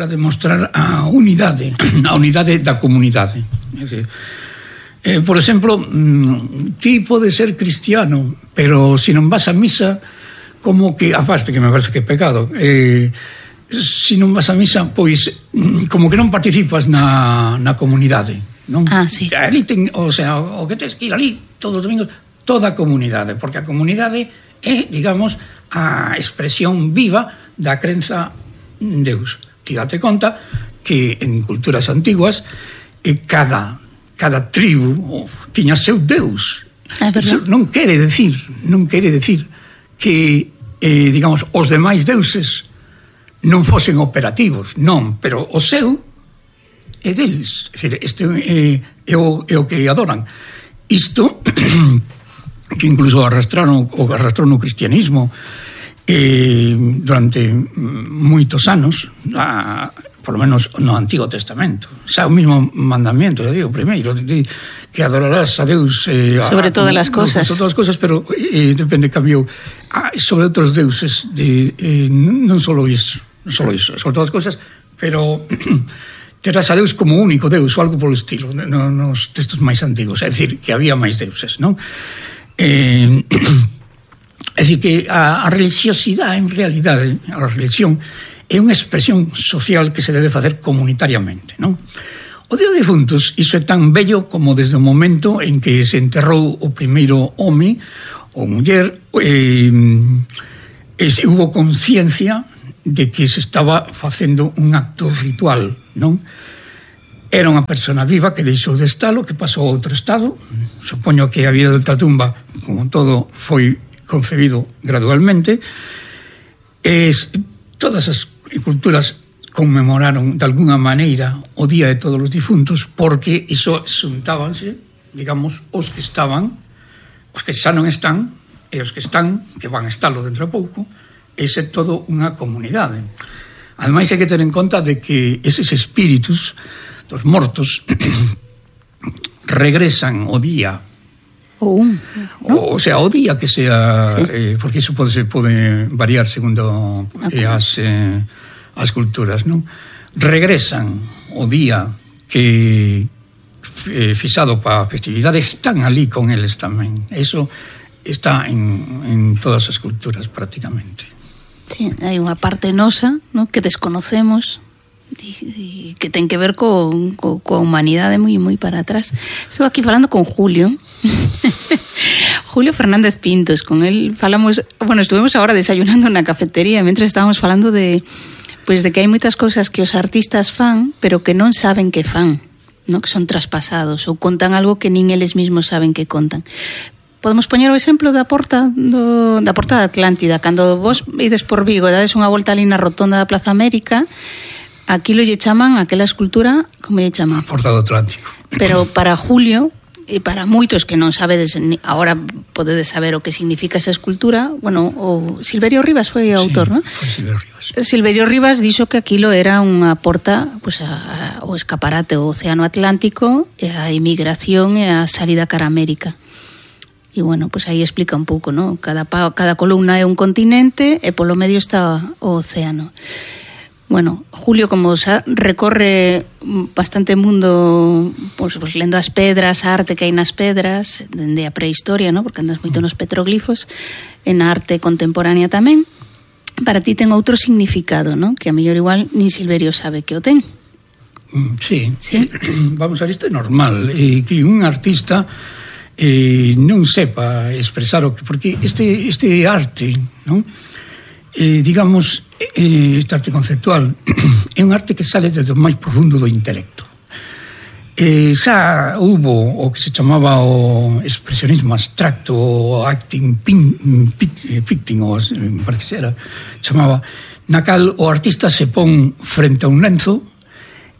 para demostrar a unidade da comunidade. Por exemplo, ti podes ser cristiano, pero se non vas a misa, como que, aparte que me parece que é pecado, se non vas a misa, pois como que non participas na comunidade, non? Sí. Ali o que tens que ir ali todos os domingos, toda a comunidade, porque a comunidade é, digamos, a expresión viva da crenza en Deus. Ti date conta que en culturas antiguas cada tribu tiña seu Deus. Iso non quere decir que, digamos, os demais deuses non fosen operativos, non, pero o seu é deles. É dicir, este é o que adoran. Isto, que incluso arrastraron o cristianismo durante moitos anos, por lo menos no Antigo Testamento. Xa o mismo mandamento, digo, primeiro, que adorarás a Deus sobre todas as cosas. Sobre todas as cosas, pero depende, cambiou sobre outros deuses, non só iso, sobre todas as cosas, pero terás a Deus como único Deus ou algo polo estilo, nos textos máis antigos, é dicir, que había máis deuses, non? É dicir, que a religiosidade, en realidade, a religión é unha expresión social que se debe facer comunitariamente, non? O Día de Difuntos, iso é tan bello como desde o momento en que se enterrou o primeiro home ou muller, hubo conciencia de que se estaba facendo un acto ritual, non? Era unha persona viva que deixou de estalo, que pasou a outro estado. Supoño que a vida de ultratumba, como todo, foi concebido gradualmente. Todas as culturas conmemoraron de alguna maneira o Día de Todos os Difuntos, porque iso xuntábanse, digamos, os que estaban, os que xa non están, e os que están, que van a estalo dentro de pouco, ese é todo unha comunidade. Ademais, hai que ter en conta de que eses espíritus dos mortos regresan o día, o sea, o día que sea, sí. Porque iso pode variar segundo as culturas, non? Regresan o día que fixado para a festividade, están ali con eles tamén. Eso está en todas as culturas prácticamente. Sí, hai unha parte nosa, ¿no?, que desconocemos e que ten que ver coa humanidade moi para atrás. Estou aquí falando con Julio Julio Fernández Pintos. Con él falamos, estuvimos agora desayunando na cafetería mentre estábamos falando de que hai moitas cousas que os artistas fan, pero que non saben que fan, ¿no?, que son traspasados ou contan algo que nin eles mesmos saben que contan. Podemos poñer o exemplo da porta da Atlántida. Cando vos ides por Vigo e dades unha volta ali na rotonda da Plaza América, aquilo lle chaman, aquela escultura, como lle chaman? A Porta do Atlántico. Pero para Julio, e para moitos que non sabedes, agora podedes saber o que significa esa escultura, o Silverio Rivas foi o autor, non? Foi Silverio Rivas. Silverio Rivas dixo que aquilo era unha porta, ao escaparate ao Océano Atlántico, e a emigración e a salida cara a América. E aí explica un pouco, non? Cada columna é un continente e polo medio está o océano. Julio, como xa recorre bastante mundo, lendo as pedras, a arte que hai nas pedras, dende a prehistoria, ¿no?, porque andas moito nos petroglifos, e na arte contemporánea tamén, para ti ten outro significado, ¿no?, que a mellor igual nin Silverio sabe que o ten. Sí. Vamos a ver, isto é normal, que un artista non sepa expresar o que, porque este arte, non? Digamos, este arte conceptual é un arte que sale desde o máis profundo do intelecto. Xa hubo o que se chamaba o expresionismo abstracto, o acting picting, parece que era, chamaba, na cal o artista se pon frente a un lenzo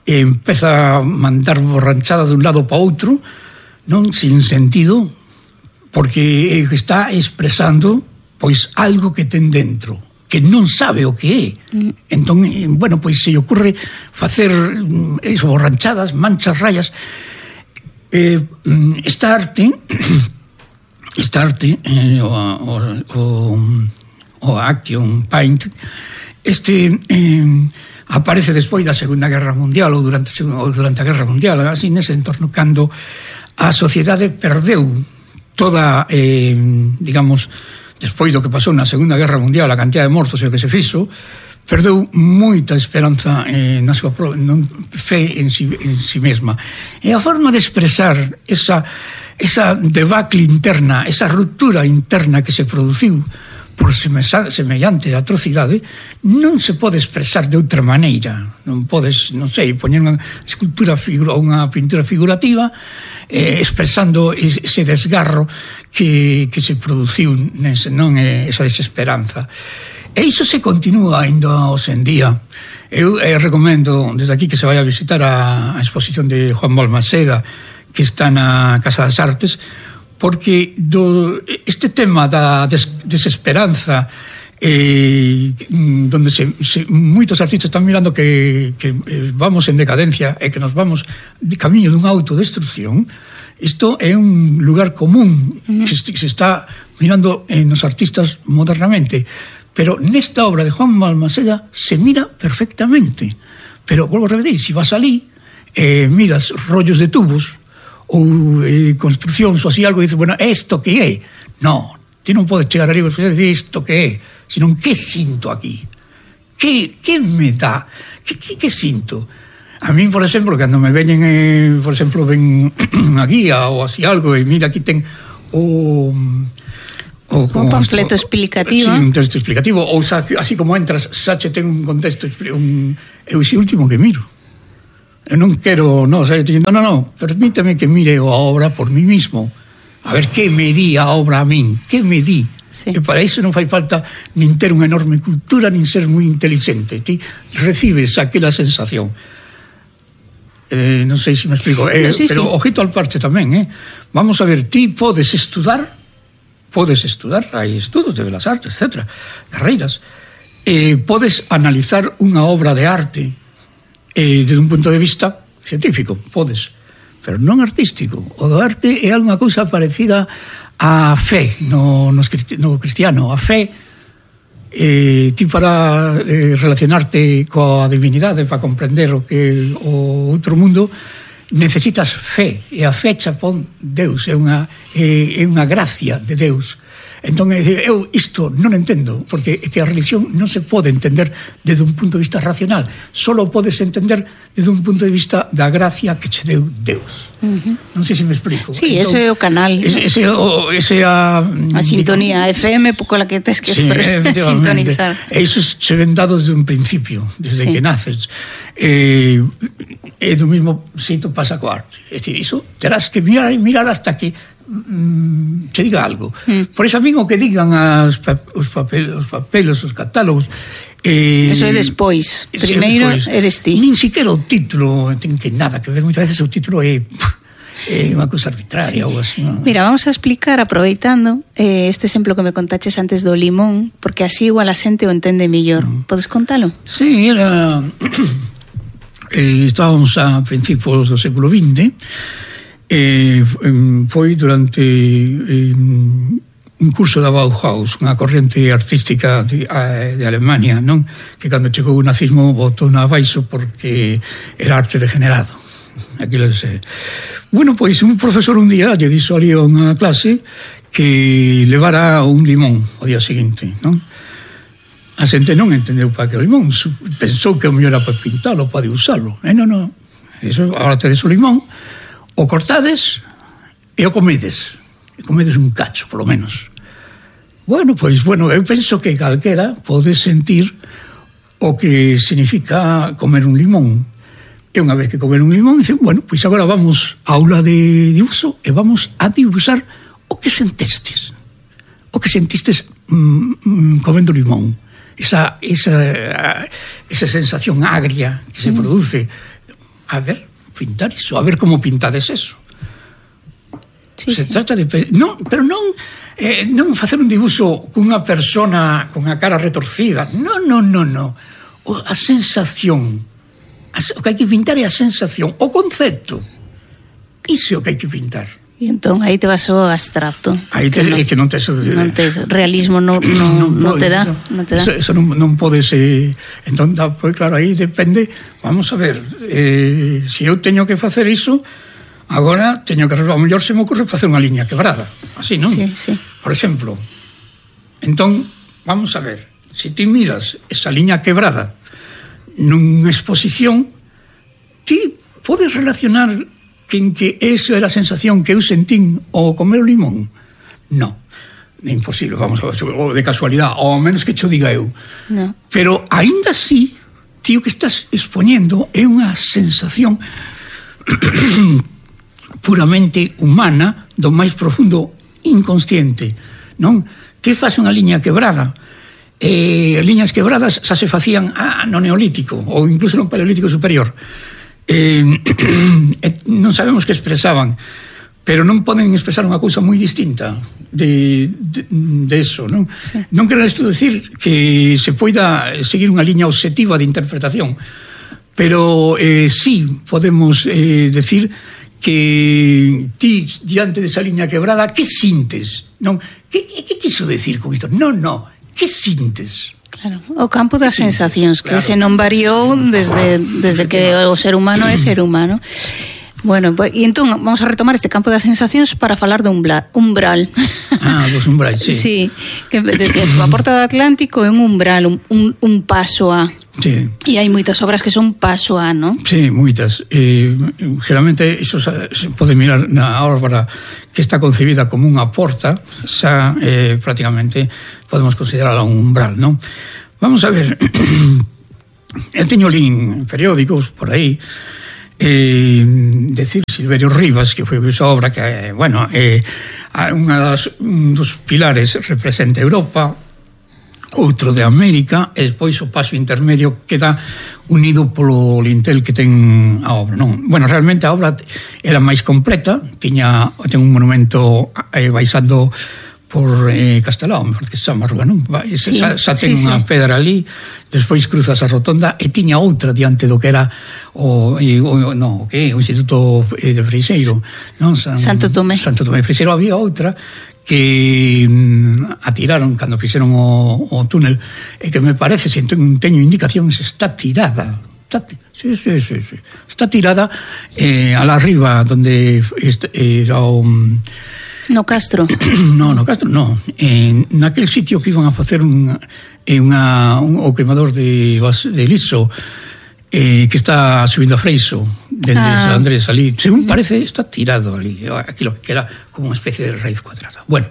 e empeza a mandar borranchada dun lado para outro, non, sin sentido, porque está expresando pois algo que ten dentro, que non sabe o que é. Entón, se lle ocurre facer borranchadas, manchas, rayas. Esta arte, o action paint, aparece despois da Segunda Guerra Mundial ou durante a Guerra Mundial, así nese entorno, cando a sociedade perdeu toda, digamos, despois do que pasou na Segunda Guerra Mundial, a cantidad de mortos e o que se fixo, perdeu moita esperanza na súa fe en si mesma. E a forma de expresar esa debacle interna, esa ruptura interna que se produciu por semellante atrocidade, non se pode expresar de outra maneira. Non podes, non sei, poñer unha escultura ou unha pintura figurativa expresando ese desgarro que se produciu, non esa desesperanza. E iso se continúa ainda hoxe en día. Eu recomendo desde aquí que se vai a visitar a exposición de Juan Balmaseda, que está na Casa das Artes, porque este tema da desesperanza, donde moitos artistas están mirando que vamos en decadencia e que nos vamos de camiño dunha autodestrucción, isto é un lugar común que se está mirando nos artistas modernamente. Pero nesta obra de Juan Balmaseda se mira perfectamente. Pero, volvo a repetir, se vas alí, miras rollos de tubos ou construcións ou así algo, e dices, bueno, isto que é? No, ti non podes chegar ali e decir isto que é, senón que sinto aquí? Que me dá? Que sinto? A min, por exemplo, cando me veñen, por exemplo, ven a guía ou así algo, e mira, aquí ten un panfleto explicativo. Sí, un texto explicativo. Ou así como entras, Sache ten un contexto. Eu ese último que miro. Eu non quero, no, permíteme que mire a obra por mí mismo. A ver que me di a obra a min. Que me di. Sí. E para iso non fai falta nin ter unha enorme cultura, nin ser moi inteligente. Ti recibes aquela sensación. Non sei se me explico. Sí, pero ojito al parche tamén. Vamos a ver, ti podes estudar, hai estudos de Belas Artes, etc., carreiras, podes analizar unha obra de arte desde un punto de vista científico, podes, pero non artístico. O do arte é unha cousa parecida á fe no cristiano. A fe, ti para relacionarte coa divinidade, para comprender o que o outro mundo, necesitas fe, e a fe xa pon Deus, é unha gracia de Deus. Entón, eu isto non entendo, porque é que a religión non se pode entender desde un punto de vista racional, solo podes entender desde un punto de vista da gracia que che deu Deus. Non sei se me explico. Sí, entón, ese é o canal. Ese a sintonía FM pola que tes que sintonizar. E iso se ven dado desde un principio, desde que naces. E do mesmo xeito pasa co arte. É dicir, iso terás que mirar hasta que che diga algo. Por iso a min o que digan os papeles, os catálogos, eso é despois. Primeiro eres ti. Nin siquiera o título ten que nada que ver. Moitas veces o título é unha cousa arbitraria ou así. Mira, vamos a explicar, aproveitando este exemplo que me contaches antes do limón, porque así igual a xente o entende mellor. Podes contalo? Sí, era estábamos a principios do século XX. Foi durante un curso da Bauhaus, unha corrente artística de Alemania, non? Que cando chegou o nazismo botou na abaixo porque era arte degenerado. Bueno, pois un profesor un día lle dixo ali a unha clase que levara un limón o día seguinte, non? A xente non entendeu para que o limón, pensou que o mellor era para pintalo, para usalo. Non, eso, agora tedes o limón, o cortades e o comedes. E comedes un cacho, polo menos. Bueno, eu penso que calquera pode sentir o que significa comer un limón. E unha vez que comer un limón, dicen, bueno, pois agora vamos á aula de dibuixo e vamos a dibuixar o que sentestes. O que sentistes comendo limón. Esa sensación agria que se produce. A ver, pintar iso, a ver como pintades eso. Se trata de... pero non facer un dibuixo cunha persona con a cara retorcida. Non. A sensación. O que hai que pintar é a sensación. O concepto. Iso é o que hai que pintar. E entón aí te vas ao abstracto. Aí que non tes realismo, non te dá. Eso non podes... entón, pues, claro, aí depende. Vamos a ver, se eu teño que facer iso, agora teño que... A mellor se me ocurre facer unha liña quebrada. Así, non? Sí. Por exemplo, entón, vamos a ver, se ti miras esa liña quebrada nunha exposición, ti podes relacionar que esa era a sensación que eu sentín ao comer o limón? Non, é imposible, vamos a ver, ou de casualidade, ou ao menos que cho diga eu. No. Pero aínda así, tío, que estás expoñendo é unha sensación puramente humana do máis profundo inconsciente, non? Ti faz unha liña quebrada, liñas quebradas xa se facían no Neolítico ou incluso no Paleolítico superior. Non sabemos que expresaban, pero non poden expresar unha cousa moi distinta de eso, non? Sí. Non quero isto decir que se poida seguir unha liña obxectiva de interpretación, pero sí podemos decir que ti, diante desa liña quebrada, que sintes? Non? Que quiso decir con isto? Non, que sintes? Claro, o campo das sensacións, que se non variou desde que o ser humano é ser humano. Bueno, e entón vamos a retomar este campo das sensacións para falar de umbral. Dos umbrais, sí. Sí, que decías, a Porta do Atlántico é un umbral, un paso a. Sí. E hai moitas obras que son paso a, non? Sí, moitas. Geralmente iso se pode mirar na obra que está concebida como unha porta, xa prácticamente podemos considerarla un umbral, non? Vamos a ver, eu teño lín periódicos por aí, decir Silverio Rivas, que foi esa obra que, bueno, un dos pilares representa Europa, outro de América, e despois o paso intermedio queda unido polo lintel que ten a obra, non? Bueno, realmente a obra era máis completa, ten un monumento baixando por Castelao, me parece que se chama a rúa, non? Xa ten unha pedra ali, despois cruzas a rotonda e tiña outra diante do que era o Instituto de Freixeiro, non? Santo Tomé Freixeiro. Había outra que atiraron cando fixeron o túnel e que me parece, se teño indicacións, está tirada. Está tirada alá arriba donde era o... No Castro? No Castro no. Naquel sitio que iban a facer o queimador de liso, que está subindo a Freixo dende San Andrés ali, según parece está tirado ali, aquilo que era como unha especie de raíz cuadrada. Bueno,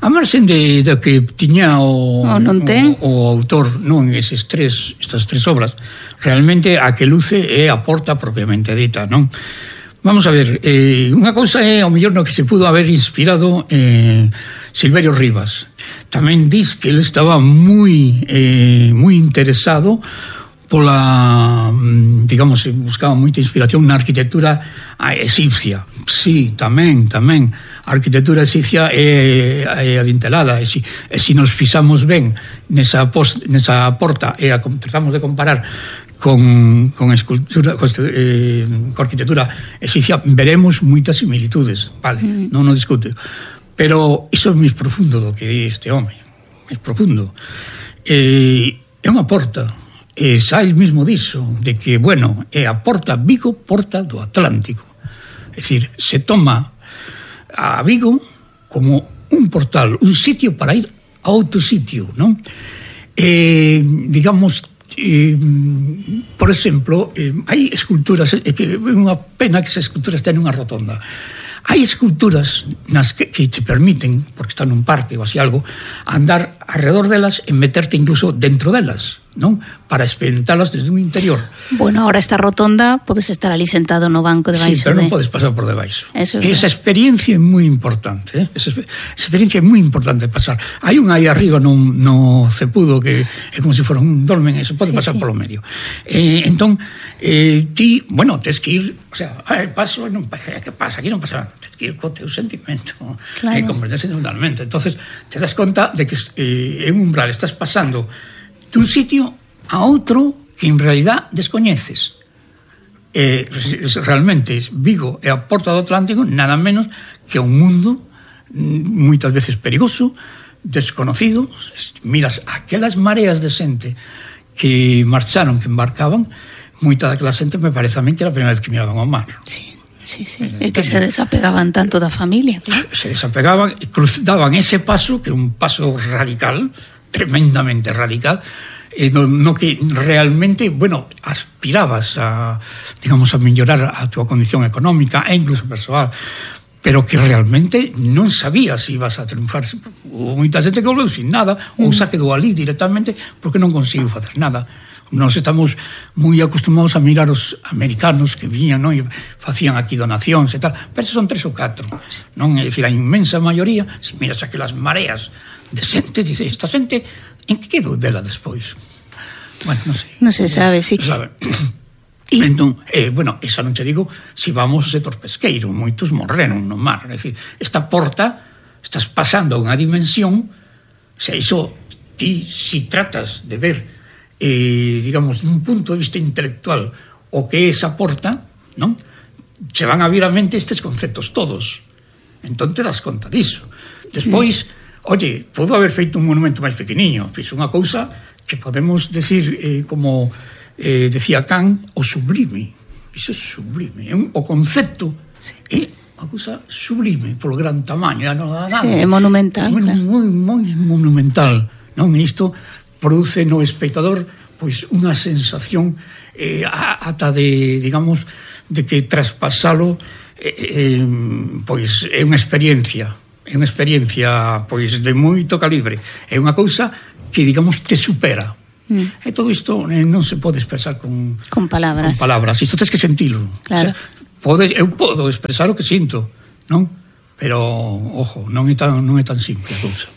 a marxen de que tiña o autor, non, estas tres obras, realmente a que luce é a porta propiamente dita, non? Vamos a ver, unha cousa é ao mellor no que se pudo haber inspirado Silverio Rivas. Tamén dis que ele estaba moi interesado pola, digamos, buscaba moita inspiración na arquitectura egipcia. Sí, tamén a arquitectura egipcia é adintelada, e se nos fixamos ben nesa porta e tratamos de comparar con escultura, con arquitectura egipcia, veremos moitas similitudes, vale, non o discute, pero iso é máis profundo do que di este home, máis profundo. É unha porta, xa el mismo diso, de que, bueno, é a porta Vigo, porta do Atlántico. É dicir, se toma a Vigo como un portal, un sitio para ir a outro sitio, non? Digamos, por exemplo, hai esculturas, que é unha pena que esas esculturas ten unha rotonda. Hai esculturas nas que te permiten, porque están nun parque ou así algo, andar alrededor delas e meterte incluso dentro delas, non? Para experimentalas desde un interior. Bueno, ahora esta rotonda podes estar ali sentado no banco debaixo. Sí, pero non podes pasar por debaixo. Que esa experiencia é moi importante, esa experiencia é moi importante pasar. Hai unha aí arriba no cepudo que é como se fora un dolmen, eso pode pasar polo medio. Entón, ti, bueno, tens que ir, o sea, paso, non, que pasa? Aquí non pasa nada. Tens que ir co teu sentimento, e comprenderse totalmente. Entonces, te das conta de que en un umbral estás pasando dun sitio a outro que en realidad descoñeces. Realmente Vigo é a porta do Atlántico nada menos que é un mundo moitas veces perigoso, desconocido. Miras aquelas mareas de xente que marcharon, que embarcaban, moita daquela xente me parece a min que era a primeira vez que miraban ao mar. Sí. É que se desapegaban tanto da familia, claro. Se desapegaban e daban ese paso, que é un paso radical, tremendamente radical, no que realmente, bueno, aspirabas a, digamos, a mellorar a túa condición económica e incluso persoal, pero que realmente non sabías se ibas a triunfar. Ou moita xente que volveu sin nada, ou xa quedou ali directamente porque non conseguiu facer nada. Nos estamos moi acostumados a mirar os americanos que viñan, non, e facían aquí donacións e tal, pero son 3 ou 4, non? É dicir, a inmensa maioría, se miras aquelas mareas de xente, dice, esta xente, en que quedou dela despois? Bueno, non sei. Non se sabe, sí. Sabe. Entón, bueno, esa non te digo, se vamos ao sector pesqueiro, moitos morreron no mar, é dicir, esta porta, estás pasando a unha dimensión, se iso, ti, si tratas de ver digamos, dun punto de vista intelectual o que é esa porta, non? Che van a vir a mente estes conceptos todos. Entón te das conta diso. Despois, oye, podo haber feito un monumento máis pequeniño, pois unha cousa que podemos decir, como decía Kant, o sublime. Iso é sublime. O concepto é unha cousa sublime polo gran tamaño. Sí, é monumental. Moi monumental. Non? Isto produce no espectador pois unha sensación ata de, digamos, de que traspasalo pois é unha experiencia pois de moito calibre, é unha cousa que, digamos, te supera. E todo isto non se pode expresar con palabras. Isto tens que sentilo. Claro. O sea, eu podo expresar o que sinto, non? Pero, ojo, non é tan simple a cousa.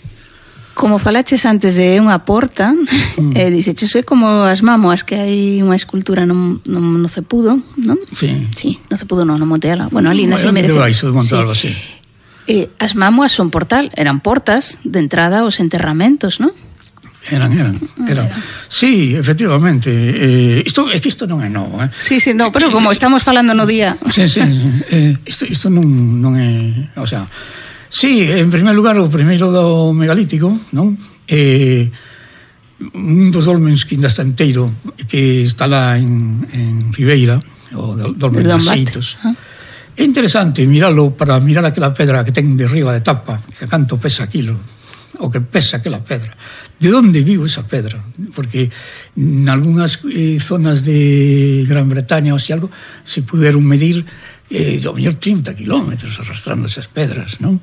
Como falaches antes de unha porta, dixeches, é como as mámoas, que hai unha escultura no Cepudo, non? Sí, no Cepudo non, no Monte Alba. Bueno, ali na Cime de Monte Alba, sí. As mámoas son portal, eran portas de entrada aos enterramentos, non? Eran. Sí, efectivamente. Isto non é novo, Sí, no, pero como estamos falando no día. Sí. Isto non é, o sea, sí, en primer lugar, o primeiro do megalítico, non? Un dos dolmens que ainda está enteiro, que está lá en Ribeira, o dolmen de Xeitos. É interesante miralo para mirar aquela pedra que ten de riba de tapa, que canto pesa aquilo, o que pesa aquela pedra. De onde viu esa pedra? Porque en algunhas zonas de Gran Bretaña ou así algo se puderon medir do mellor 30 kilómetros arrastrando esas pedras, non?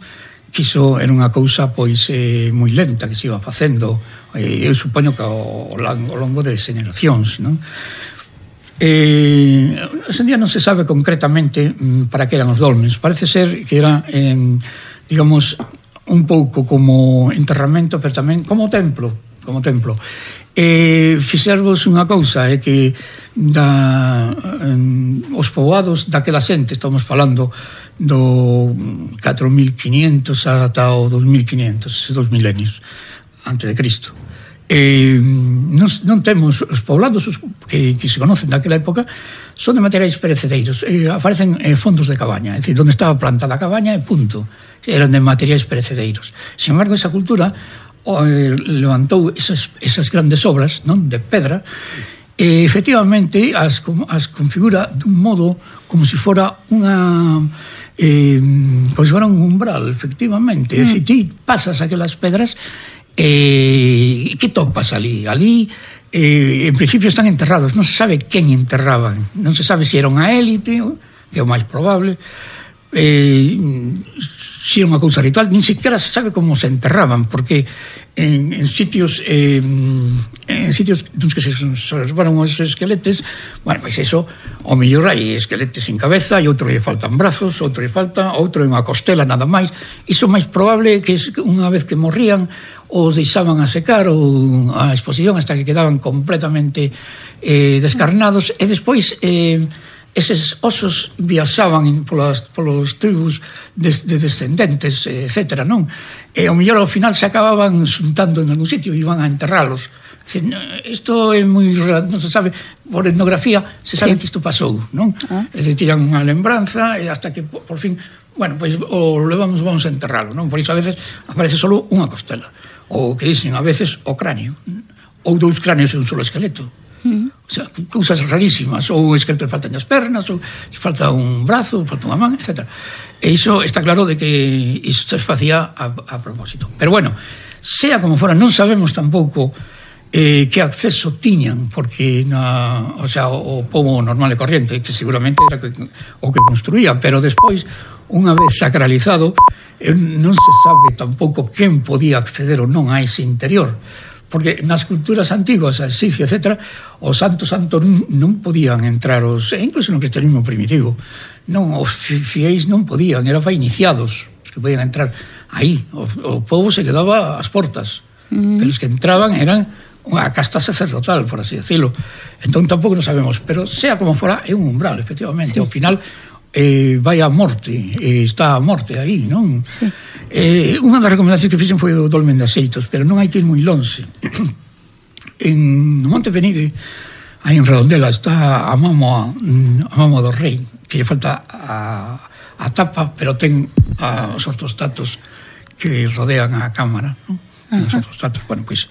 Que iso era unha cousa pois moi lenta que se iba facendo, eu supoño que ao longo de xeneracións, non? Hoxe en día non se sabe concretamente para que eran os dolmens. Parece ser que era, digamos, un pouco como enterramento, pero tamén como templo. Fixervos unha cousa, é que os poboados daquela xente, estamos falando do 4500 ata o 2500, 2 milenios antes de Cristo. Non temos os poblados que se conocen daquela época, son de materiais perecedeiros, aparecen fondos de cabaña, é dicir, onde estaba plantada a cabaña e punto, eran de materiais perecedeiros. Sin embargo, esa cultura levantou esas grandes obras, non, de pedra, e efectivamente as configura dun modo como se fora unha como se fora un umbral, efectivamente. É dicir, ti pasas aquelas pedras e que topas ali? Ali, en principio, están enterrados. Non se sabe quen enterraban. Non se sabe se era unha élite, que é o máis probable, se era unha cousa ritual. Nin sequera se sabe como se enterraban, porque en sitios dos que se observaron os esqueletes, bueno, pois eso, o mellor hai esqueletes sin cabeza, e outro lle faltan brazos, outro é unha costela nada máis. Iso máis probable que unha vez que morrían os deixaban a secar ou a exposición hasta que quedaban completamente descarnados, e despois eses osos viaxaban polos tribus de descendentes, etcétera, non? E ao mellor ao final se acababan xuntando en algún sitio e iban a enterralos. Isto é moi... non se sabe, por etnografía se sabe que isto pasou, non? É dicir, tiran unha lembranza e hasta que por fin bueno, pois o levamos, vamos a enterralo, non? Por iso a veces aparece solo unha costela, ou que dicen a veces o cráneo, ou 2 cráneos e un solo esqueleto. O sea, cousas rarísimas, ou esqueletos faltan as pernas, ou falta un brazo, falta unha man, etc. E iso está claro de que iso se facía a propósito. Pero bueno, sea como fora, non sabemos tampouco que acceso tiñan, porque o sea, o pobo normal e corriente, que seguramente era o que construía, pero despois, unha vez sacralizado, non se sabe tampouco quen podía acceder ou non a ese interior, porque nas culturas antiguas, a Egipcio, etc., os santos non podían entrar, incluso no cristianismo primitivo, non, os fiéis non podían, era para iniciados que podían entrar aí, o povo se quedaba ás portas, pero os que entraban eran unha casta sacerdotal, por así decirlo. Entón tampouco non sabemos, pero sea como fora, é un umbral, efectivamente. Sí. Ao final vai a morte, está a morte aí, non? Sí. Unha das recomendacións que fixen foi do Dolmen de Axeitos, pero non hai que ir moi longe. No Monte Penide, aí en Redondela, está a mamo do Rei, que lle falta a tapa, pero ten os ortostatos que rodean a cámara, non? Os ortostatos, bueno, pois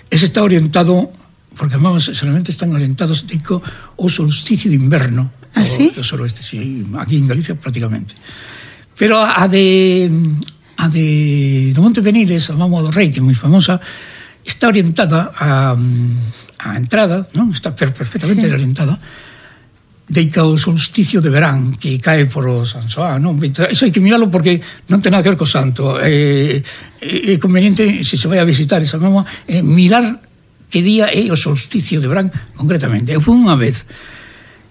ese está orientado, porque además solamente están orientados digo, ao solsticio de inverno. ¿Ah, sí? O suroeste, sí, aquí en Galicia prácticamente. Pero a de do Monte Penides, a Mamo do Rei, que é moi famosa, está orientada a entrada, non? Está perfectamente orientada deica o solsticio de verán que cae por o San Xoán, non? Eso hai que miralo porque non ten nada que ver co santo. É conveniente, se se vai a visitar esa mama, mirar que día é o solsticio de verán concretamente. Eu fui unha vez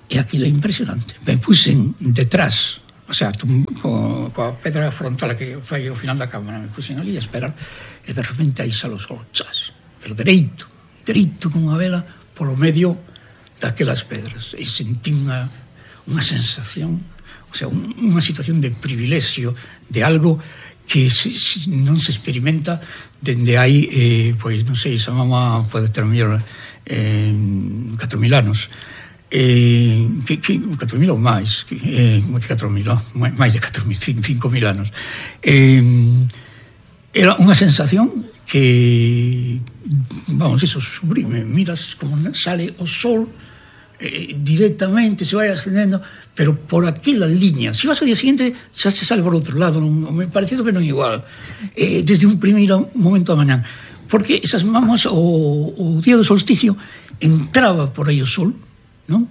e aquilo é impresionante. Me puxen detrás, o sea, coa pedra frontal que fai ao final da cámara, me puxen ali a esperar e de repente aí xa o sol, chas, pero dereito como unha vela polo medio daquelas pedras, e sentí unha sensación, o sea, unha situación de privilexio, de algo que non se experimenta dende hai, pois non sei, esa mama pode ter mellor 4.000 anos, 4.000 ou máis, 4.000, máis de 4.000, 5.000 anos. Era unha sensación que, vamos, eso, sublime, miras como sale o sol directamente, se vai ascendendo, pero por aquela liña. Se vas ao día seguinte, xa se sale por outro lado, me parecido que non é igual, desde un primeiro momento da mañá, porque esas mamas, o día do solsticio, entraba por aí o sol, non?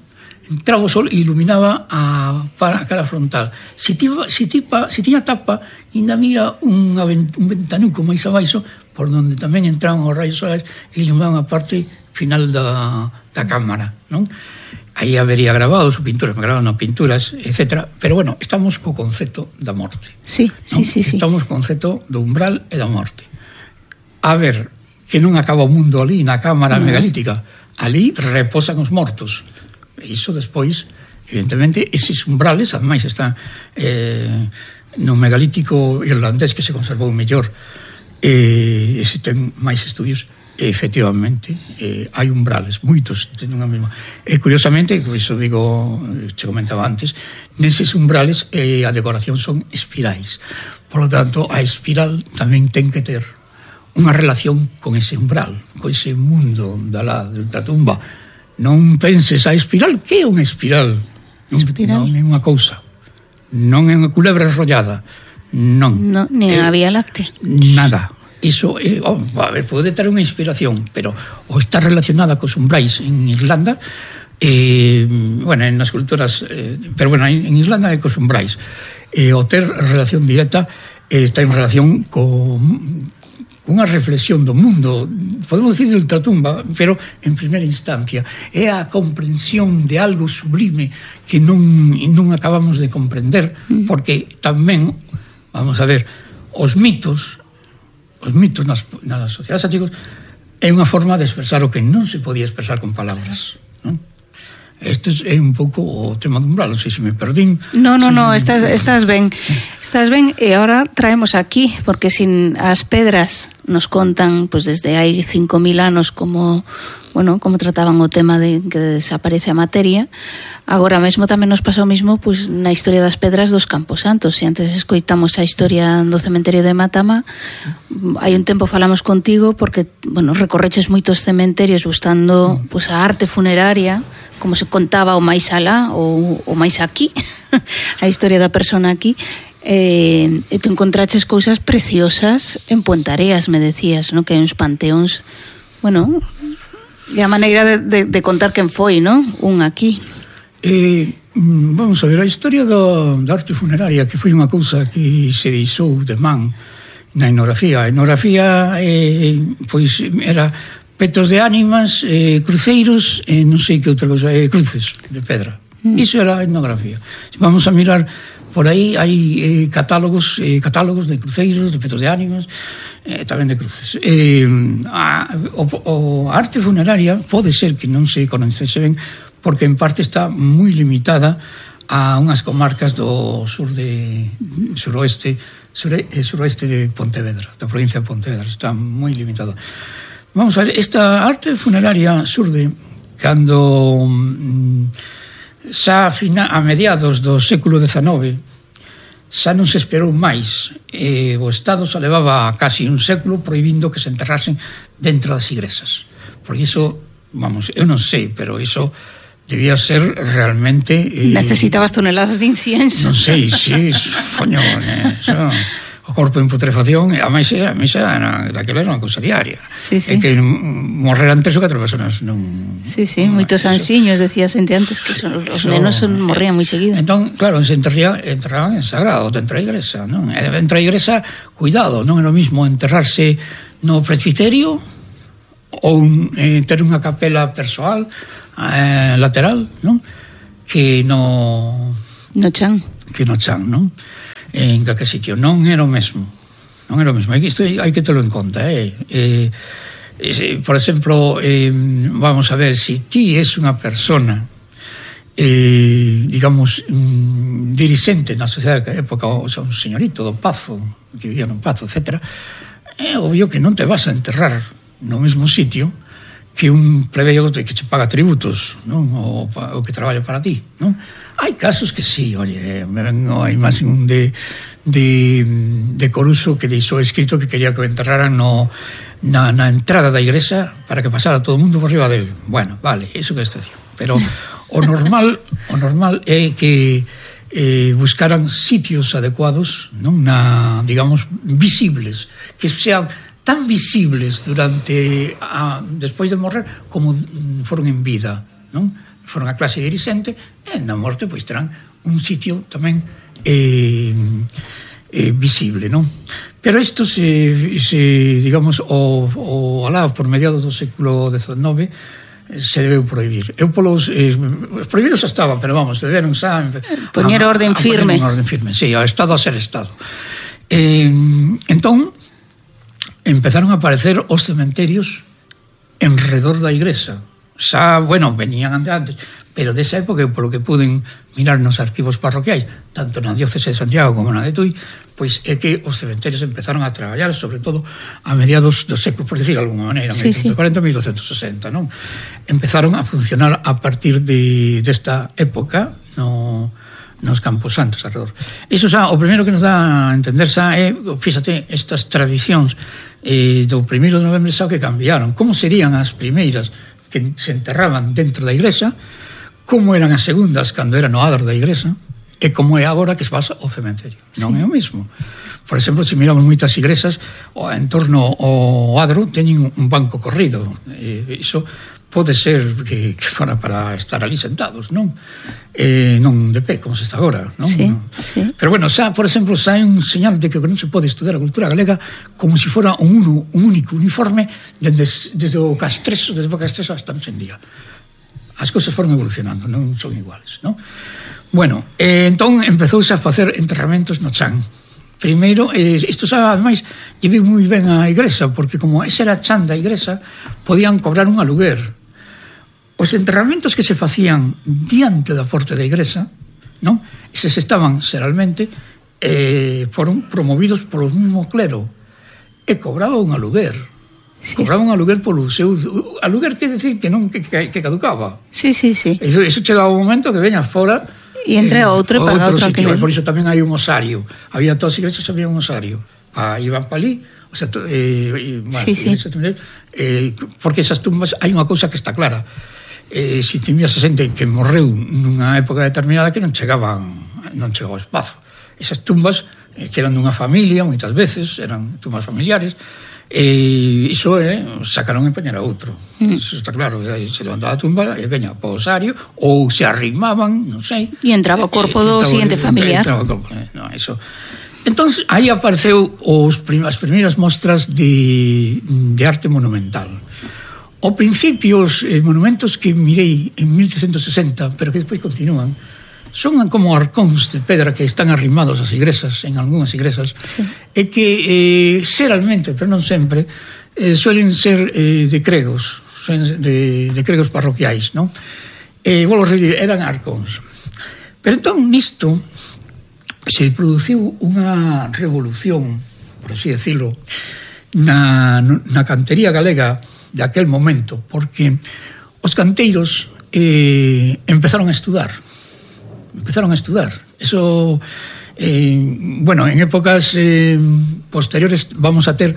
Entraba o sol e iluminaba a cara frontal. Se tiña tapa, ainda mira un ventanuco máis abaixo, por donde tamén entraban os raios solares e iluminaban a parte final da cámara, non? Aí habería grabados ou pinturas, me grababan pinturas, etc. Pero bueno, estamos co concepto da morte. Sí. Estamos co concepto do umbral e da morte. A ver, que non acaba o mundo ali na cámara megalítica. Ali reposan os mortos. E iso despois, evidentemente, eses umbrales, ademais están no megalítico irlandés que se conservou mellor, ese ten máis estudios. Efectivamente, hai umbrales, moitos teñen a mesma. E curiosamente, iso digo, che comentaba antes, neses umbrales a decoración son espirais. Por lo tanto, a espiral tamén ten que ter unha relación con ese umbral, con ese mundo da tumba. Non penses a espiral, que é unha espiral? Non é unha cousa, non é unha culebra enrollada, non. Nin a Vía Láctea. Nada. Iso, a ver, pode ter unha inspiración, pero ou está relacionada cos umbrais en Irlanda, bueno, en as culturas, pero bueno, en Irlanda é cos umbrais, o ter relación directa está en relación con unha reflexión do mundo, podemos dicir de ultratumba, pero en primeira instancia é a comprensión de algo sublime que non acabamos de comprender, porque tamén, vamos a ver, os mitos nas sociedades antigas é unha forma de expresar o que non se podía expresar con palabras, non? Este é un pouco o tema do umbral, non sei se me perdín. No, estás ben. Estás ben, e agora traemos aquí, porque sin as pedras nos contan, pues desde hai 5.000 anos como bueno, como trataban o tema de que desaparece a materia. Agora mesmo tamén nos pasa o mismo pois, na historia das pedras dos Camposantos. Se antes escoitamos a historia do cementerio de Matama, hai un tempo falamos contigo porque, bueno, recorreches moitos cementerios buscando pois, a arte funeraria, como se contaba o máis alá ou o máis aquí, a historia da persona aquí. E tu encontraches cousas preciosas en Puentareas, me decías, ¿no? Que hai uns panteóns, bueno, e a maneira de contar quen foi, ¿no? Un aquí. Vamos a ver, a historia da arte funeraria, que foi unha cousa que se deixou de man na etnografía. A etnografía, pois, era petos de ánimas, cruceiros, non sei que outra cousa, cruces de pedra. Iso era a etnografía. Vamos a mirar por aí, hai catálogos de cruceiros, de petos de ánimas, tamén de cruces. A arte funeraria pode ser que non se coñecese ben, porque en parte está moi limitada a unhas comarcas do suroeste de Pontevedra, da provincia de Pontevedra, está moi limitada. Vamos a ver, esta arte funeraria surde cando xa a mediados do século XIX xa non se esperou máis. O Estado xa levaba casi un século prohibindo que se enterrasen dentro das igrexas. Por iso, vamos, eu non sei, pero iso debía ser realmente... Necesitabas toneladas de incienso. Non sei, sí, coño, o corpo en putrefacción, a misa daquela era unha cousa diaria. Sí, sí. E que morreran 3 ou 4 personas. Sí, moitos ansiños, decía xente antes, que os nenos morrían moi seguido. Entón, claro, se enterraban en sagrado, dentro da igrexa, non? E dentro da igrexa, cuidado, non é o mismo enterrarse no presbiterio ou ter unha capela persoal lateral, non? Que no chan. Que no chan, non? En calquer sitio, non era o mesmo. Non era o mesmo. Isto hai que telo en conta, por exemplo, vamos a ver, si ti es unha persona digamos dirixente na sociedade da época, o sea, un señorito do Pazo, que vivía no Pazo, etc., é obvio que non te vas a enterrar no mesmo sitio que un plebeio que che paga tributos, non? O que traballa para ti, non? Hai casos que sí, oye, me vengo a imagen de Coruso que deixou escrito que quería que o enterraran na entrada da igrexa para que pasara todo o mundo por riba dele. Bueno, vale, iso que está dicindo. Pero o normal é que buscaran sitios adecuados, non? Digamos, visibles, que sean tan visibles despois de morrer como foron en vida, non? Foron a clase dirixente e na morte pois terán un sitio tamén visible, non? Pero isto digamos alá por mediados do século XIX se debeu prohibir. Os prohibidos estaban, pero vamos, deberon xa poñer orden firme. Sí, ao Estado a ser Estado. Entón empezaron a aparecer os cementerios enredor da igrexa. Xa, bueno, venían antes, pero desa época, polo que puden mirar nos arquivos parroquiais, tanto na diócese de Santiago como na de Tui, pois é que os cementerios empezaron a traballar, sobre todo a mediados do século, por decir de alguma maneira, 1840-1260, non? Empezaron a funcionar a partir desta época nos Camposantos alrededor. Iso xa, o primeiro que nos dá a entender xa é, fíxate, estas tradicións do 1 de novembro xa que cambiaron. Como serían as primeiras que se enterraban dentro da igrexa, como eran as segundas cando era no adro da igrexa, e como é agora que se pasa ao cementerio. Non é o mesmo. Por exemplo, se miramos moitas igrexas, en torno ao adro teñen un banco corrido. Iso pode ser que fora para estar ali sentados, non? Non de pé, como se está agora, non? Sí. Pero bueno, xa, por exemplo, xa hai un señal de que non se pode estudar a cultura galega como se fora un único uniforme desde o Castreso, hasta hoxe en día. As cousas foron evolucionando, non son iguales, non? Bueno, entón empezouse a facer enterramentos no chan. Primeiro, isto xa, ademais, llevei moi ben a igrexa, porque como ese era chan da igrexa, podían cobrar un aluguer. Os enterramentos que se facían diante da porta da igrexa, non? Eses estaban, xeralmente, foron promovidos polo mismo clero, e cobraba un aluguer. Cobraban aluguer polo seu... Aluguer quer decir que non que caducaba. Sí. Eso chegaba un momento que veña fora e entre outro e paga outro alquiler. Por iso tamén hai un osario. Había todas as iglesias, había un osario. Iban pa ali, o sea, porque esas tumbas hai unha cousa que está clara. Se tiñas a xente que morreu nunha época determinada que non chegaba ao espazo. Esas tumbas que eran dunha familia, moitas veces eran tumbas familiares, iso sacaron e poñer a outro. Iso está claro, se levantaba a tumba e veña po osario, ou se arrimaban, non sei, e entraba o corpo do seguinte familiar. Eso. Entón, aí apareceu as primeiras mostras de arte monumental. Ao principio, os monumentos que mirei en 1860, pero que despois continúan, son como arcóns de pedra que están arrimados ás igrexas, en algunhas igrexas, e que xeralmente, pero non sempre, suelen ser de cregos, de cregos parroquiais, non? Volvo a repetir, eran arcóns. Pero entón, nisto, se produciu unha revolución, por así decirlo, na cantería galega de aquel momento, porque os canteiros empezaron a estudar. Eso, bueno, en épocas posteriores vamos a ter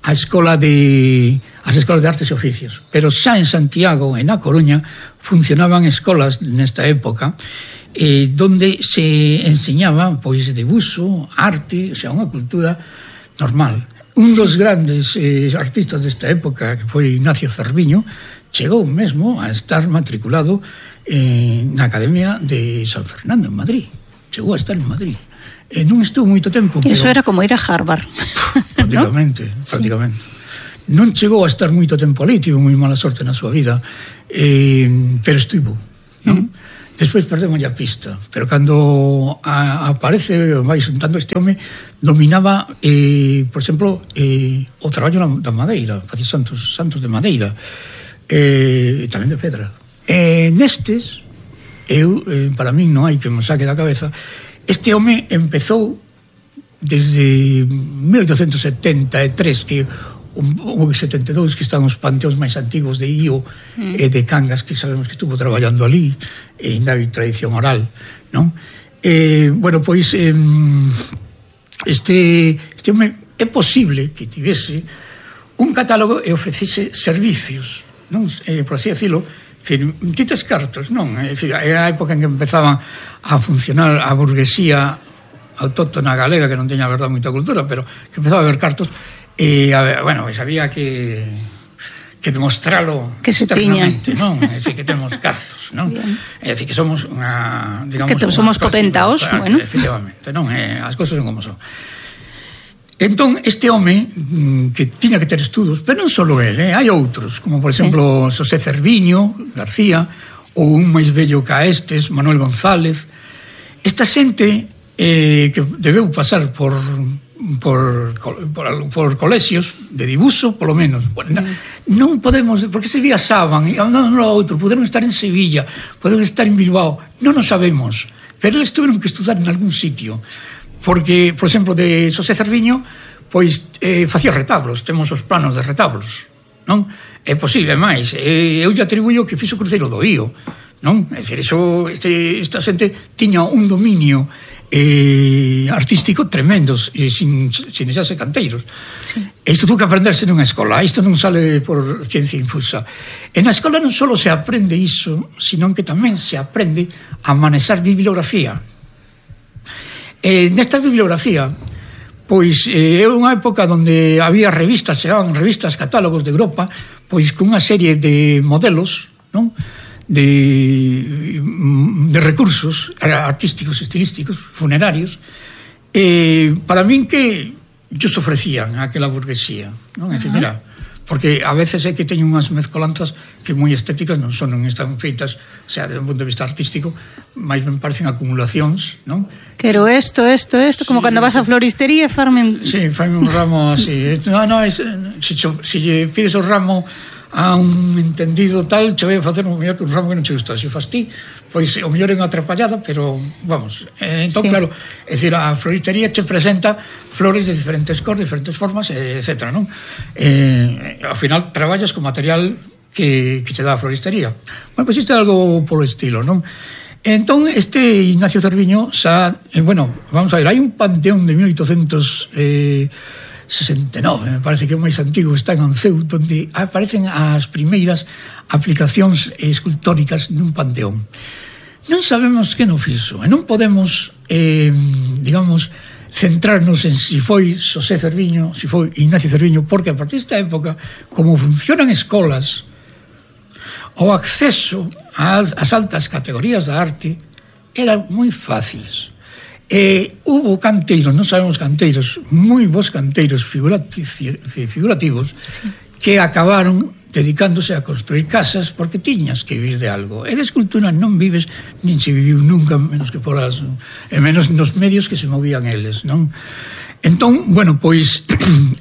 as escolas de artes e oficios, pero xa en Santiago e na Coruña funcionaban escolas nesta época donde se enseñaba pois debuxo, arte, o sea, unha cultura normal. Un dos grandes artistas desta época, que foi Ignacio Cerviño, chegou mesmo a estar matriculado na Academia de San Fernando, en Madrid. Chegou a estar en Madrid. Non estuvo moito tempo. Eso era como ir a Harvard. Prácticamente. Non chegou a estar moito tempo ali, tivo moi mala sorte na súa vida, pero estivo, non? Despois perdemos a pista, pero cando aparece, vai xuntando este home, dominaba, por exemplo, o traballo da madeira, facía santos de madeira, e tamén de pedra. Nestes, para min non hai que me saque da cabeza, este home empezou desde 1873, que o 72, que están os panteóns máis antigos de Io e de Cangas, que sabemos que estuvo traballando ali, e ainda hai tradición oral, non? Bueno, pois este home é posible que tivese un catálogo e ofrecise servicios, non? Por así decirlo, tites cartos, non? Era a época en que empezaban a funcionar a burguesía autóctona galega, que non teña, a verdade, moita cultura, pero que empezaba a haber cartos. Bueno, pues había que demostrarlo que se externamente, non? É dicir, que temos cartos, non? É dicir, que somos unha, digamos, que somos potentaos, bueno. Efectivamente, non? As cousas son como son. Entón, este home que tiña que ter estudos, pero non só ele, hai outros, como por exemplo Xosé Cerviño García, ou un máis bello ca estes, Manuel González. Esta xente que debeu pasar por colexios de dibuixo, polo menos. Non podemos, porque se viaxaban, non outro, poderon estar en Sevilla, poderon estar en Bilbao, non o sabemos, pero eles tuveron que estudar en algún sitio, porque, por exemplo, de Xosé Cerviño, pois facía retablos, temos os planos de retablos, non? É posible máis, eu lle atribuyo que fixo o cruceiro do Io, non? É dicir, esta xente tiña un dominio artístico tremendos, sin deixarse canteiros. Isto tuvo que aprenderse nunha escola, isto non sale por ciencia infusa. En a escola non só se aprende iso, sino que tamén se aprende a manexar bibliografía. Nesta bibliografía, pois é unha época onde había revistas, chegaban revistas, catálogos de Europa, pois con unha serie de modelos, non? De recursos artísticos, estilísticos, funerarios, para min que ellos ofrecían a aquela burguesía, non? É dicir, mira, porque a veces é que teñen unhas mezcolanzas que moi estéticas non son, non están feitas, o sea, desde un punto de vista artístico, máis me parecen acumulacións, non? Quero isto, como cando vas a floristería e farme... Sí, farme un ramo así. No, se lle pides o ramo a un entendido tal, che vai a facer un mellor que un ramo que non che gusta. Se fas ti, pois o mellor é unha atrapallada, pero vamos, entón claro, é dicir, a floristería che presenta flores de diferentes cores, diferentes formas, etc. non? Ao final traballas con material que che dá a floristería. Bueno, pois isto é algo polo estilo, non? Entón, este Ignacio Cerviño xa, bueno, vamos a ver, hai un panteón de 1869, me parece que é o máis antigo, está en Anceu, onde aparecen as primeiras aplicacións escultóricas nun panteón. Non sabemos que non fixo, e non podemos, digamos, centrarnos en si foi Xosé Cerviño, si foi Ignacio Cerviño, porque a partir desta época, como funcionan escolas, o acceso ás altas categorías da arte eran moi fáciles. Hubo canteiros, non sabemos canteiros, moi bons canteiros figurativos, sí, que acabaron dedicándose a construir casas porque tiñas que vivir de algo. E de escultura non vives, nin se viviu nunca, menos que poras, e menos nos medios que se movían eles, non? Entón, bueno, pois,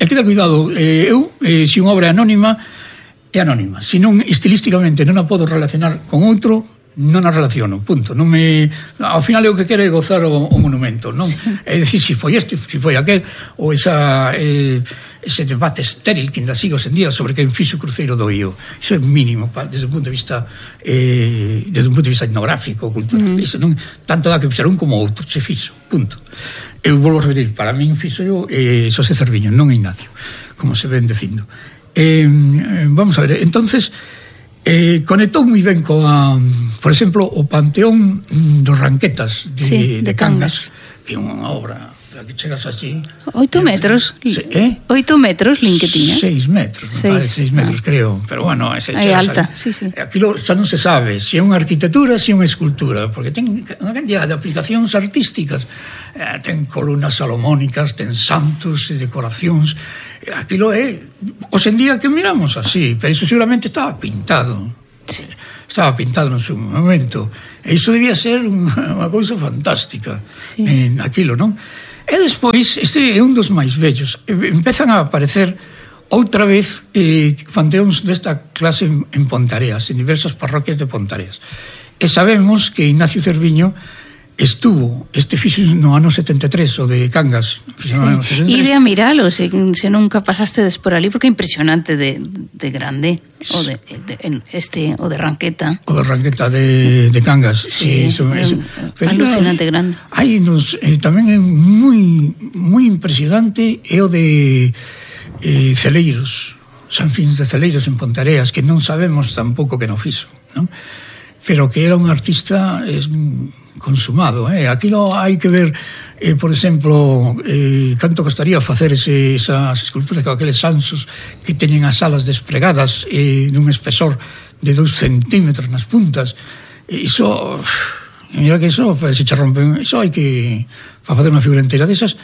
hai que dar cuidado. Se unha obra é anónima, se non estilísticamente non a podo relacionar con outro, non a relaciono, punto. Non me, ao final é o que quere gozar o monumento, non? Sí. É dicir, se foi este, se foi aquel, ou ese debate estéril que ainda sigue hoxe en día sobre quen fixo o cruceiro do Io. Iso é mínimo desde un punto de vista etnográfico, cultural. Iso non tanto dá que fixar un como outro, se fixo, punto. Eu volvo a repetir, para min fixo eu Xosé Cerviño, non Ignacio, como se ven dicindo. Vamos a ver, entonces conectou moi ben coa, por exemplo, o Panteón dos Ranquetas de Cangas, que é unha obra que chegas así 8 metros 8 metros lin que tiña 6 metros, me parece 6 metros creo, pero bueno, é alta, sí. Aquilo xa non se sabe se é unha arquitectura, se é unha escultura, porque ten unha cantidad de aplicacións artísticas, ten columnas salomónicas, ten santos e decoracións. Aquilo é, hoxe en día que miramos así, pero iso seguramente estaba pintado, sí, estaba pintado no seu momento, e iso debía ser unha cousa fantástica, sí, en aquilo, non? E despois, este é un dos máis vellos, empezan a aparecer outra vez panteóns desta clase en Pontareas, en diversas parroquias de Pontareas, e sabemos que Ignacio Cerviño estuvo, fixo no ano 73, o de Cangas, sí, e de a miralo, se nunca pasastedes por ali, porque é impresionante de grande, o de Ranqueta. O de Ranqueta de Cangas, sí, alucinante grande. Hai tamén é moi impresionante é o de Celeiros, San Fins de Celeiros en Pontareas, que non sabemos tampouco que non fixo, non? Pero que era un artista consumado. Aquilo hai que ver, por exemplo, canto costaría facer esas esculturas con aqueles ansos que teñen as alas despregadas nun espesor de 2 centímetros nas puntas. Iso, mira que iso se che rompen, iso hai que, para facer unha figura inteira desas,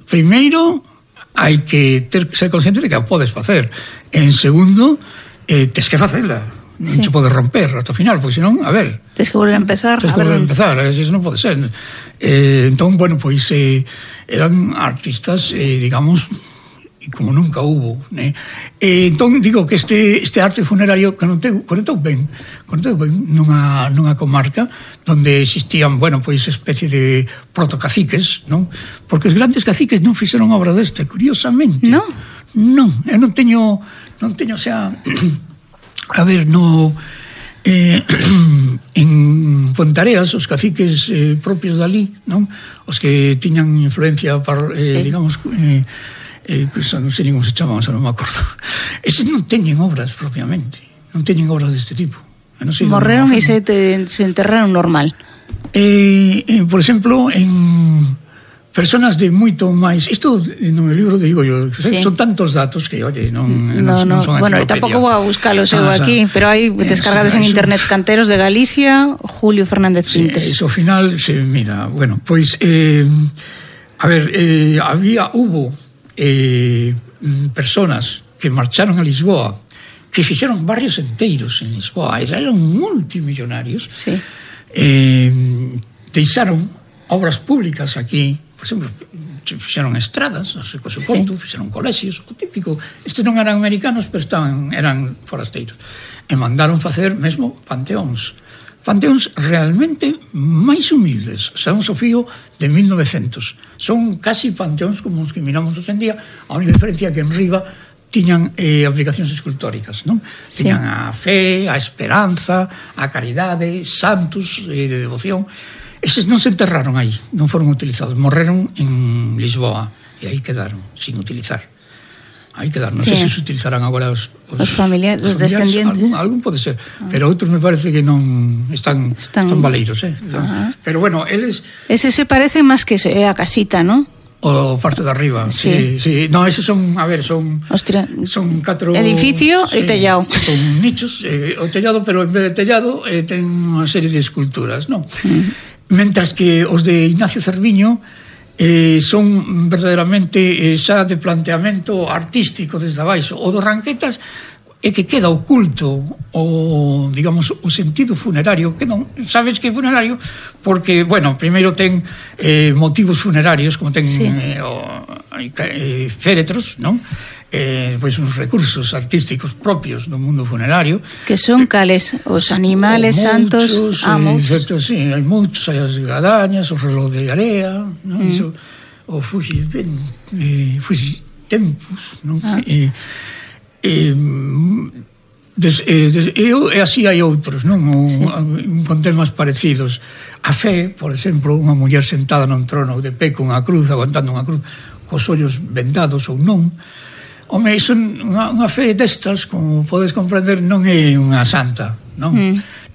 primeiro hai que ser consciente de que a podes facer. En segundo, tes que facela. Non se pode romper hasta o final, porque senón, a ver, tens que volver a empezar, eso non pode ser. Entón, bueno, pois eran artistas, digamos, como nunca hubo, né? Entón, digo que este arte funerario conectou ben nunha comarca onde existían, bueno, pois especie de protocaciques, non? Porque os grandes caciques non fixeron obra deste, curiosamente. Non, eu non teño, o sea, a ver, en Pontareas, os caciques propios dali, non? Os que tiñan influencia, digamos, non sei como se chamaban, non me acordo. Eses non teñen obras propiamente, non teñen obras deste tipo. Morreron e se enterraron normal. Por exemplo, en personas de moito máis, isto no meu libro digo yo, sí, son tantos datos que, oye, non son bueno, tampouco vou a buscalos eu aquí, pero hai descargadas en internet canteros de Galicia, Julio Fernández Pintes. Iso ao final, mira, bueno, pois a ver, hubo personas que marcharon a Lisboa, que fixeron barrios enteiros en Lisboa, eran multimillonarios, sí, deixaron obras públicas aquí. Por exemplo, fixeron estradas, por suposto, fixeron colexios, o típico. Estes non eran americanos, pero eran forasteiros. E mandaron facer mesmo panteóns realmente máis humildes. Estamos ao fío de 1900. Son casi panteóns como os que miramos hoxe en día, a única diferencia é que en riba tiñan aplicacións escultóricas, non? Sí. Tiñan a fe, a esperanza, a caridade, santos de devoción. Eses non se enterraron aí, non foron utilizados, morreron en Lisboa e aí quedaron, sin utilizar. Aí quedaron, non sei se se utilizarán agora os familiares, os descendientes. Algún pode ser, pero outros me parece que non están son baleiros, Pero bueno, eles... Ese se parece máis que é a casita, non? O parte de arriba, sí. No, eses son, a ver, son 4 edificio e tellado. Con nichos, o tellado, pero en vez de tellado ten unha serie de esculturas, non? Mentras que os de Ignacio Cerviño son verdadeiramente xa de planteamento artístico desde abaixo. O dos Ranquetas é que queda oculto o, digamos, o sentido funerario, que non sabes que é funerario porque, bueno, primeiro ten motivos funerarios, como ten féretros, non? Pois uns recursos artísticos propios do mundo funerario. Que son cales? Os animales santos? Sí, hai moitos, hai as gadañas, o reloj de area, non? Iso, o Fugitempus, non? E así hai outros, non? Con temas parecidos. A fe, por exemplo, unha muller sentada nun trono de pé con a cruz, aguantando unha cruz, cos ollos vendados ou non. Home, iso unha fe destas, como podes comprender, non é unha santa, non?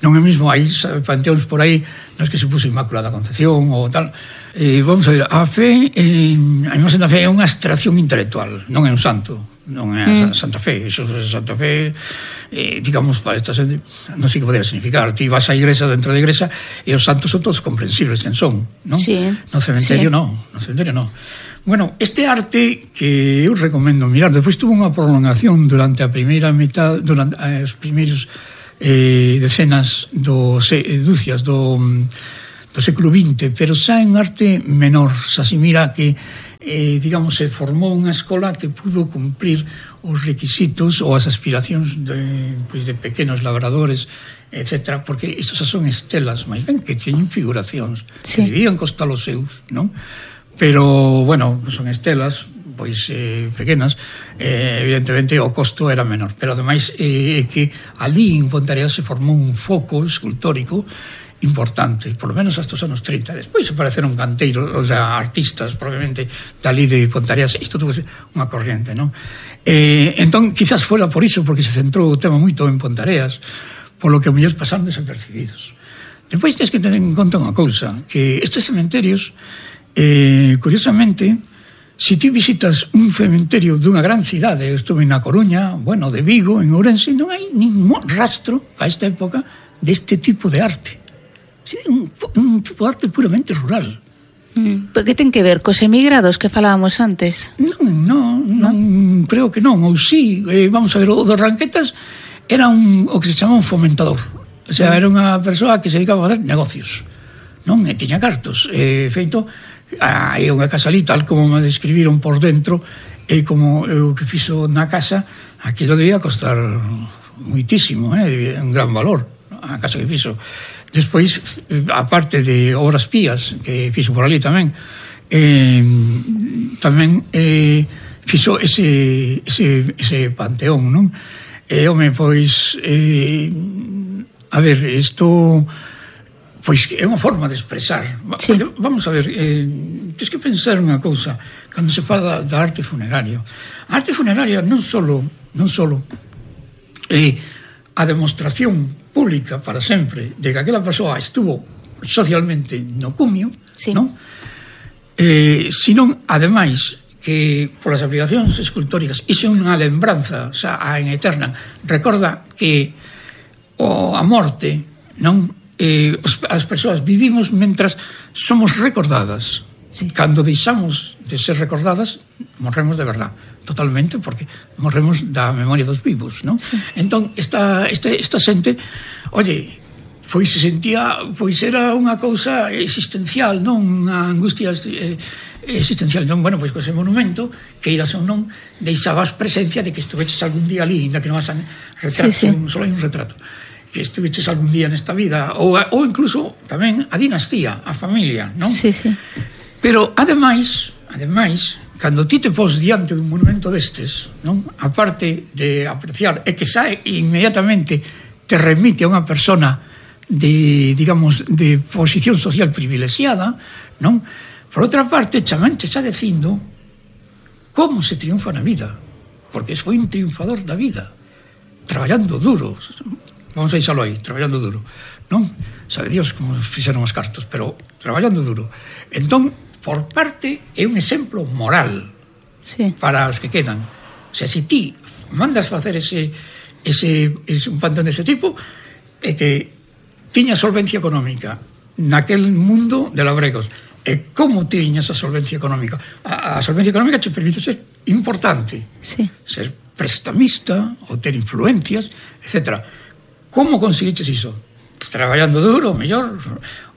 Non é mesmo, hai panteóns por aí nos que se puso Inmaculada Concepción ou tal. Vamos a ver, a fe, a imagen da fe é unha abstracción intelectual, non é un santo, non é a Santa Fe. Iso é Santa Fe, digamos, para esta xente, non sei que podría significar. Ti vas á igrexa, dentro da igrexa, e os santos son todos comprensibles, quen son, non? Sí. No cementerio non, no cementerio non. Bueno, este arte que eu recomendo mirar, despois tuvo unha prolongación durante a primeira metade, durante os primeiros decenas dúcias do século XX, pero xa en arte menor, xa se mira que digamos, se formou unha escola que pudo cumprir os requisitos ou as aspiracións de pequenos labradores, etc., porque estos son estelas, máis ben que teñen figuracións, que debían costar os seus, non? Pero, bueno, son estelas, pois, pequenas, evidentemente o costo era menor, pero ademais é que ali en Ponteareas se formou un foco escultórico importante, por lo menos hasta os anos 30. Despois apareceron canteiros, o sea, artistas, probablemente, dali de Ponteareas. Isto tuvo unha corriente, non? Entón, quizás fora por iso, porque se centrou o tema moito en Ponteareas, polo que mellor pasaron desapercibidos. Despois tens que tener en conta unha cousa, que estes cementerios, curiosamente, se ti visitas un cementerio dunha gran cidade, eu estuve na Coruña, bueno, de Vigo, en Ourense, non hai ningún rastro a esta época deste tipo de arte. Un tipo de arte puramente rural. Que ten que ver cos emigrados que falábamos antes? Non, creo que non, ou sí. Vamos a ver, o dos Ranquetas era o que se chama un fomentador. O sea, era unha persoa que se dedicaba a fazer negocios, non? E tiña cartos. Feito, hai unha casa ali, tal como me describiron por dentro, e como o que fixo na casa, aquilo debía costar muitísimo, un gran valor, a casa que fixo. Despois, aparte de obras pías que fixo por ali tamén, fixo ese panteón, non? Home, pois, a ver, isto pois é unha forma de expresar. Sí. Vamos a ver, tens que pensar unha cousa cando se fala da arte funeraria. A arte funeraria non solo a demostración pública para sempre de que aquela persoa estuvo socialmente no cumio, sí, non? Sino, ademais, que polas aplicacións escultóricas iso é unha lembranza, xa en eterna, recorda que a morte, non? As persoas vivimos mentras somos recordadas. Sí. Cando deixamos de ser recordadas, morremos de verdad, totalmente, porque morremos da memoria dos vivos, non? Sí. Entón, esta xente, oye, pois se sentía, pois era unha cousa existencial, non? Unha angustia existencial. Entón, bueno, pois ese monumento, que iras ou non, deixabas presencia de que estuveches algún día ali, ainda que non vas a retrato, só hai un retrato, que estuveches algún día nesta vida, ou incluso tamén a dinastía, a familia, non? Sí, sí. Pero, ademais, cando ti te pos diante dun monumento destes, non? A parte de apreciar, e que sae inmediatamente te remite a unha persona de, digamos, de posición social privilexiada, non? Por outra parte, tamén te está dicindo como se triunfa na vida, porque foi un triunfador da vida, traballando duro, vamos a deixalo aí, traballando duro, non? Sabe Dios como fixeron os cartos, pero traballando duro. Entón, por parte, é un exemplo moral para os que quedan. O sea, se ti mandas facer un pantón dese tipo, é que tiña solvencia económica naquel mundo de labregos. E como tiñas a solvencia económica? A solvencia económica te permite ser importante, ser prestamista, ou ter influencias, etc. Como conseguiches iso? Traballando duro, mellor,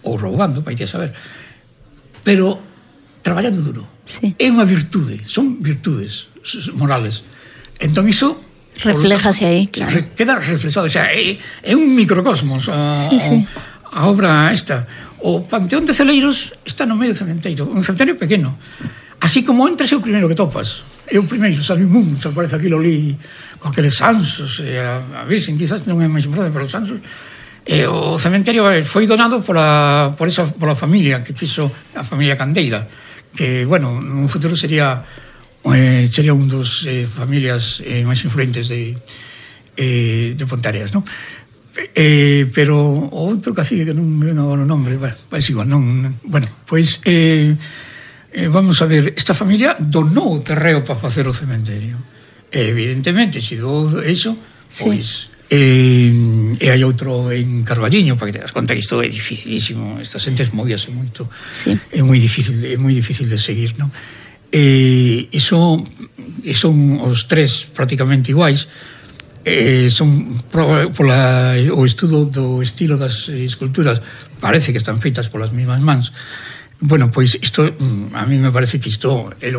ou roubando, vai te saber. Pero traballando duro. É unha virtude, son virtudes morales. Entón iso refléjase aí, claro. Queda reflexado, o sea, é un microcosmos a obra esta. O Panteón de Celeiros está no medio do cementerio, un cementerio pequeno. Así como entras é o primeiro que topas. É o primeiro, sabe, mucho, aparece aquilo ali con aqueles ansos, a Virxen quizás non é máis importante, pero os ansos. O cementerio foi donado pola familia que fixo, a familia Candeira, que, bueno, nun futuro sería un dos familias máis influentes de Ponteareas, non? Pero o outro cacique que non me ven agora o nome, bueno, igual, non, bueno, pois vamos a ver, esta familia donou o terreo para facer o cementerio, evidentemente, se do iso, pois e hai outro en Carballiño, para que te das conta que isto é dificilísimo, estas xentes movíase moito, é moi difícil de seguir, non? E son os tres prácticamente iguais, son o estudo do estilo das esculturas, parece que están feitas polas mesmas mans. Bueno, pois isto, a mí me parece que isto é o